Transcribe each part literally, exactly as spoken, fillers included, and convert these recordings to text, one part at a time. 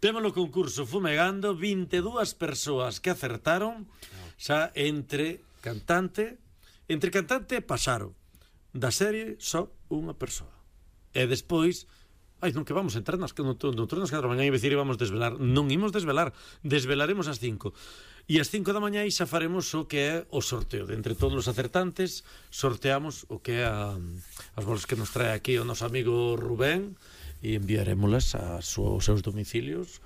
Temos o concurso Fumegando, vinte e dúas persoas que acertaron, xa entre cantante, entre cantante e Pasaro. Da serie só unha persoa. E despois, ai, non que vamos entrar nas no, no, nas catro da mañá e dicir vamos desvelar. Non imos desvelar, desvelaremos ás cinco. E ás cinco da mañá xa faremos o que é o sorteo. De entre todos os acertantes, sorteamos o que é a, as bolas que nos trae aquí o noso amigo Rubén, e enviarémolas aos seus domicilios.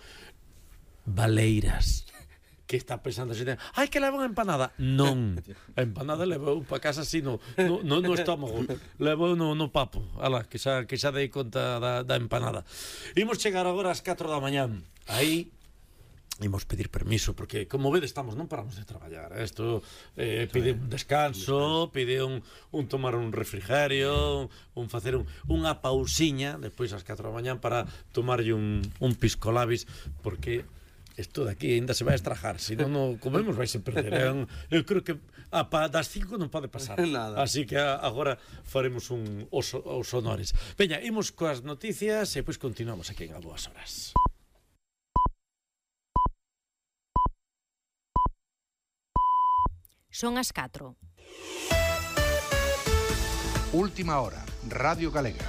Baleiras. Que está pensando a xente, ai, que leva unha empanada. Non, a empanada levou para casa así no, no, no, no estómago, levou no, no papo. Ala, que xa, que xa dei conta da, da empanada. Imos chegar agora ás catro da mañá. Aí imos pedir permiso, porque como vedes estamos, non paramos de traballar. Isto eh, pide un descanso, pide un, un tomar un refrigerio, un facer un, unha pausiña despois ás catro da mañá para tomarlle un, un piscolabis, porque isto de aquí ainda se vai a estrajar, se non no comemos vai se perder. Eu, eu creo que a pa, das cinco non pode pasar. Nada. Así que a, agora faremos un os, os honores. Veña, imos coas noticias e pois continuamos aquí en A Boas Horas. Son as catro. Última hora, Radio Galega.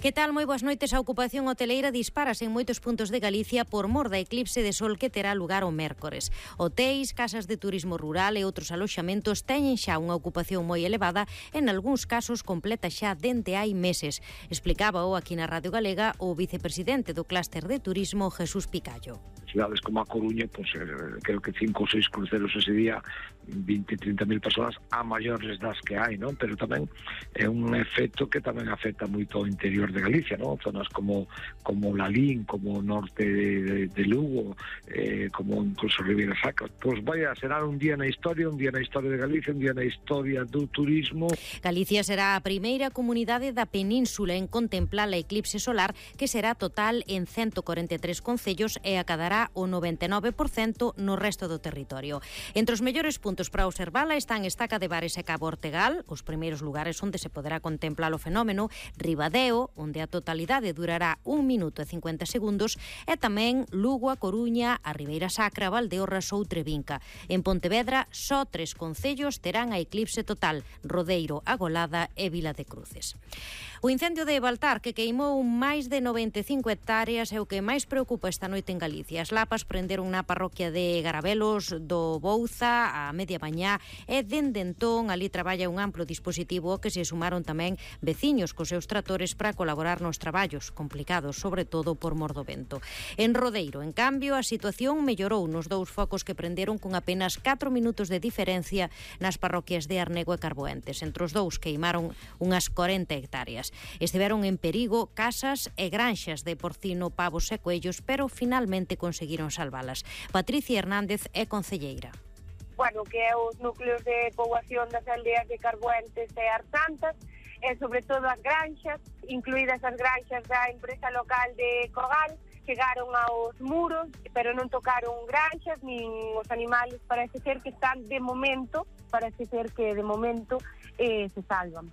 Que tal? Moi boas noites. A ocupación hoteleira disparase en moitos puntos de Galicia por mor da eclipse de sol que terá lugar o mércores. Hotéis, casas de turismo rural e outros aloxamentos teñen xa unha ocupación moi elevada, en algúns casos completa xa dende hai meses. Explicábao aquí na Radio Galega o vicepresidente do clúster de turismo, Jesús Picallo. Cidades como a Coruña, pues, eh, creo que cinco ou seis cruceros ese día, vinte, trinta mil persoas a maiores das que hai, non? Pero tamén é un efecto que tamén afecta moito ao interior de Galicia, non? Zonas como como Lalín, como o norte de, de, de Lugo, eh, como incluso Ribeira Sacra. Pois vai a ser un día na historia, un día na historia de Galicia, un día na historia do turismo. Galicia será a primeira comunidade da península en contemplar a eclipse solar, que será total en ciento corenta e tres concellos e acadará o noventa e nove por cento no resto do territorio. Entre os mellores puntos para observala están Estaca de Bares e Cabo Ortegal, os primeiros lugares onde se poderá contemplar o fenómeno, Ribadeo, onde a totalidade durará un minuto e cincuenta segundos, e tamén Lugo, a Coruña, a Ribeira Sacra, Valdeorras ou Trevinca. En Pontevedra, só tres concellos terán a eclipse total: Rodeiro, Agolada e Vila de Cruces. O incendio de Baltar, que queimou máis de noventa e cinco hectáreas, é o que máis preocupa esta noite en Galicia. As lapas prenderon na parroquia de Garabelos do Bouza a media mañá e dende entón ali traballa un amplo dispositivo que se sumaron tamén veciños cos seus tratores para colaborar nos traballos, complicados sobre todo por mor do vento. En Rodeiro, en cambio, a situación mellorou nos dous focos que prenderon con apenas catro minutos de diferencia nas parroquias de Arnego e Carboentes. Entre os dous queimaron unhas corenta hectáreas. Estiveron en perigo casas e granxas de porcino, pavos e coellos, pero finalmente conseguiron salvalas. Patricia Hernández é concelleira. Bueno, que é os núcleos de poboación das aldeas de Carboentes e Arsantas, e sobre todo as granxas, incluídas as granxas da empresa local de Cogal, chegaron aos muros, pero non tocaron granxas, nin os animales, parece ser que están de momento, parece ser que de momento eh, se salvan.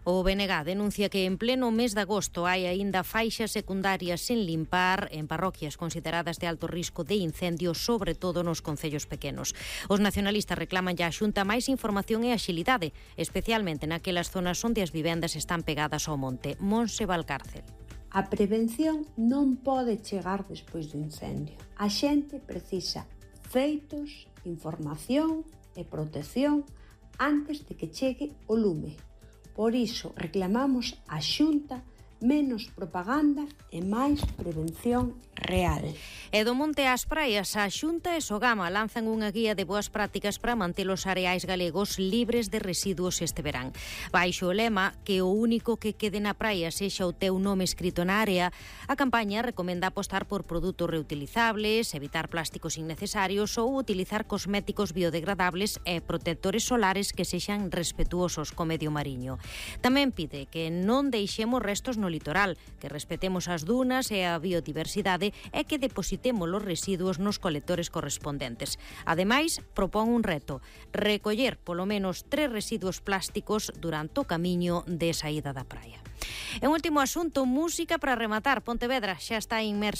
O B N G denuncia que en pleno mes de agosto hai aínda faixas secundarias sen limpar en parroquias consideradas de alto risco de incendio, sobre todo nos concellos pequenos. Os nacionalistas reclaman ya a Xunta máis información e axilidade, especialmente naquelas zonas onde as vivendas están pegadas ao monte. Monse Valcárcel. A prevención non pode chegar despois do incendio. A xente precisa feitos, información e protección antes de que chegue o lume. Por iso reclamamos á Xunta menos propaganda e máis prevención real. E do monte ás praias, a Xunta e Sogama lanzan unha guía de boas prácticas para manter os areais galegos libres de residuos este verán. Baixo o lema que o único que quede na praia sexa o teu nome escrito na área, a campaña recomenda apostar por produtos reutilizables, evitar plásticos innecesarios ou utilizar cosméticos biodegradables e protectores solares que sexan respetuosos co medio mariño. Tamén pide que non deixemos restos no litoral, que respetemos as dunas e a biodiversidade e que depositemos os residuos nos colectores correspondentes. Ademais, propón un reto: recoller polo menos tres residuos plásticos durante o camiño de saída da praia. E un último asunto, música para rematar. Pontevedra xa está inmersa